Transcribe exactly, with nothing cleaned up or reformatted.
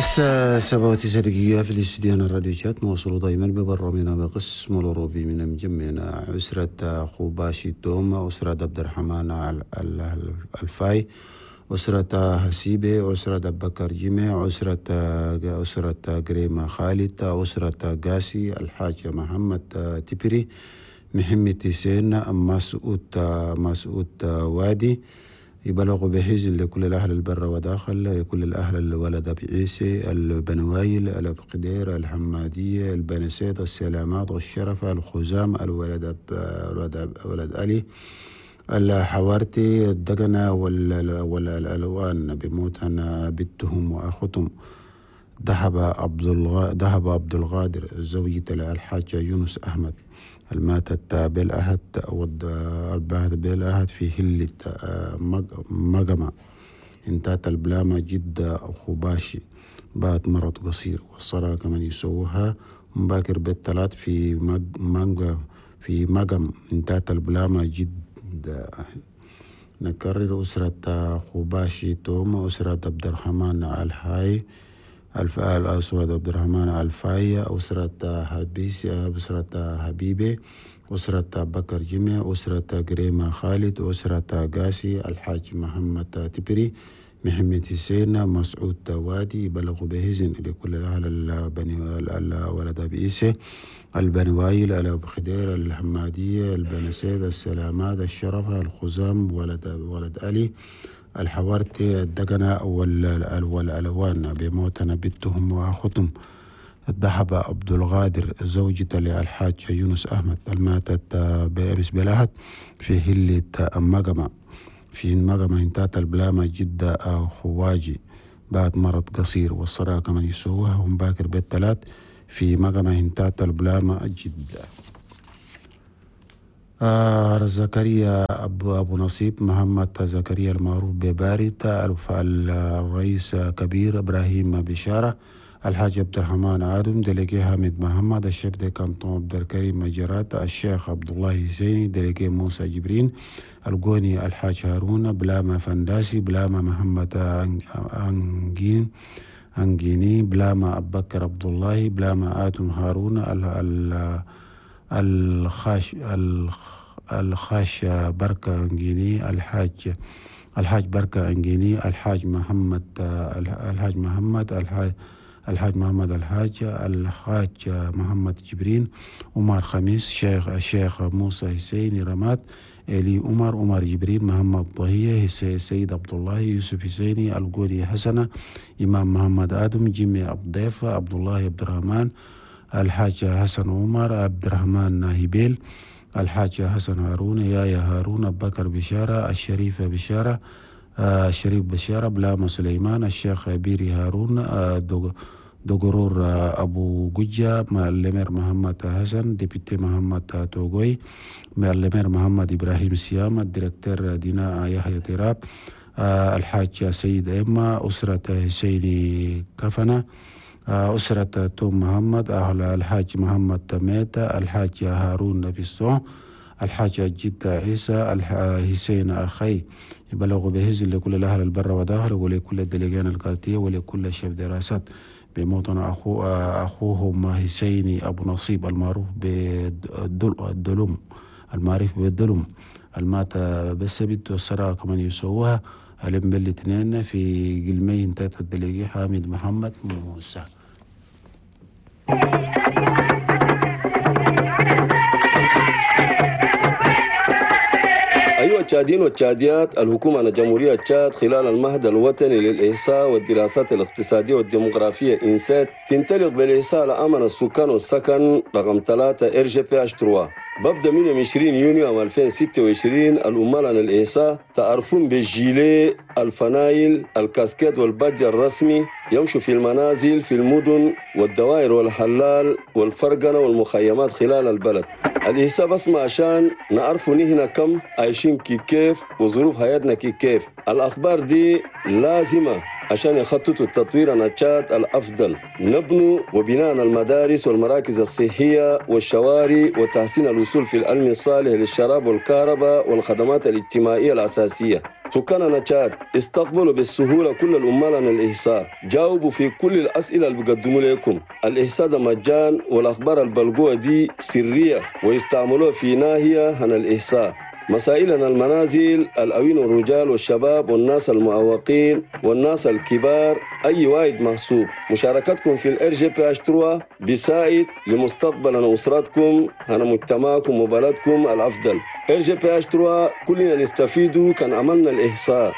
الساعة سبعة وتسع دقيقة في الاستديو الراديو شات نواصل دائما ببرنامجنا بقسم الأوروبي من مجمعنا أسرة خباشي توما، أسرة عبد الرحمن الفاي، أسرة حسيبة، أسرة بكر جمع، أسرة أسرة كريمة خالد، أسرة قاسي، الحاج محمد تبري، محمد حسين، مسعود مسعود وادي. يبلغ بحزن لكل الأهل البر وداخل، لكل الأهل الولد بعيسى، البنوايل، الأبقدير، الحمادية، البنسيط، السلامات، الشرف، الخزام، الولد الولد ولد علي، الحوارتي، الدقنة، والألوان. بموتنا بنتهم وأختهم ذهب عبد ذهب عبد القادر زوجة الحاج يونس أحمد الماتت بالأحد بالأحد في هلة مقمة انتات البلامة جدة خباشي بعد مرض قصير، والصلاة كمان يسووها مباكر بالثلاث في مانجا في مقم انتات البلامة جدة. نكرر أسرة خباشي توم، أسرة عبد الرحمن الحاي الف أسرة عبد الرحمن الفاية، أسرة حبيس، أسرة حبيبة، أسرة بكر جمع، أسرة كريمة خالد، أسرة قاسي، الحاج محمد تبري، محمد حسين، مسعود وادي. بلغ بهزن لكل أهل البني الولد بإيسى، البنوايل، الأبخدير، الحمادية، البنسيد، السلامات، الشرف، الخزام، ولد ولد علي، الحوارتي، الدقنة، والألوان. بموتنا بنتهم وأختهم الذهب عبد القادر زوجة للحاج يونس أحمد الماتت بأمس بلاهت في هلة مقمة في مقمة انتات البلامة جدة خواجي بعد مرض قصير، والصلاة كمان يسووها هم باكر بالثلاث في مقمة انتات البلامة جدة. آه زكريا أبو, أبو نصيب محمد زكريا المعروف ببارد، الرئيس كبير إبراهيم بشارة، الحاج عبد الرحمن آدم، délégué حامد محمد، ال chef de canton عبد الكريم مجرات، الشيخ عبد الله حسيني، délégué موسى جبرين، القوني الحاج هارون، بلاما فنداسي، بلاما محمد أنجين أنجيني، بلاما أبو بكر عبد الله، بلاما آدم هارون، ال ال الخاش الخاش بركة أنجيني، الحاج الحاج بركة أنجيني، الحاج محمد الحاج محمد الحاج الحاج محمد الحاج الحاج محمد جبرين، عمر خميس، شيخ الشيخ موسى حسيني رماد، إلي عمر، عمر جبرين، محمد ضهية، سيد عبد الله، يوسف حسيني، القولي حسنة، إمام محمد آدم، جيمي عبد عبد الله عبد الرحمن، الحاج حسن عمر، عبد الرحمن هبيل، الحاج حسن هارون، يايا هارون، بكر بشارة، الشريفة بشارة، الشريف بشارة، بلاما سليمان، الشيخ بيري هارون، دقرور أبو ججة، le maire محمد حسن، député محمد توغوي، le maire محمد إبراهيم سيام، ال directeur دينا يحيى تراب، الحاج سيد إما، أسرة حسيني كفنة، أسرة توم محمد، أهل الحاج محمد تميتة، الحاج هارون نفسو، الحاج جدة عيسى، الحسين أخي. يبلغ بهزل لكل الأهل البر وداخل ولكل الدليجان الكارتية ولكل شيف دراسات بموطن أخو أخوهم حسيني أبو نصيب المعروف بالدلوم المعروف بالدلوم المات بالسبت، والصلاة كمان يسووها اليوم بالاثنين في قلمين تاتا الدليجي حامد محمد موسى. أيها التشاديين والتشاديات، الحكومة الجمهورية تشاد خلال المهد الوطني للإحصاء والدراسات الاقتصادية والديموغرافية إنسات تنطلق بالإحصاء لأمن السكان والسكن رقم ثلاثة إر جي بي إتش ثلاثة. ببدأ من عشرين يونيو عام ألفين وستة وعشرين العمال عن الإحصاء تعرفون بالجيلي، الفنايل، الكاسكيت والبادج الرسمي، يمشوا في المنازل في المدن والدوائر والحلال والفرقنة والمخيمات خلال البلد. الإحصاء بس ما عشان نعرفوا نحن كم عايشين كي كيف وظروف حياتنا كي كيف. الأخبار دي لازمة عشان يخططوا التطوير عن تشاد الأفضل، نبنوا وبناء المدارس والمراكز الصحية والشوارع وتحسين الوصول في العلم الصالح للشراب والكهرباء والخدمات الاجتماعية الأساسية. سكاننا تشاد استقبلوا بالسهولة كل العمال عن الإحصاء، جاوبوا في كل الأسئلة اللي بيقدموا لكم. الإحصاء ده مجان، والأخبار البلقوة دي سرية ويستعملوها في ناحية عن الإحصاء. مسائلنا المنازل، الأوين والرجال والشباب والناس المعوقين والناس الكبار، أي واحد محسوب. مشاركتكم في ال RGPH trois بيساعد لمستقبل أسرتكم، هنا مجتمعكم وبلدكم الأفضل. RGPH trois كلنا نستفيد كان عملنا الإحصاء.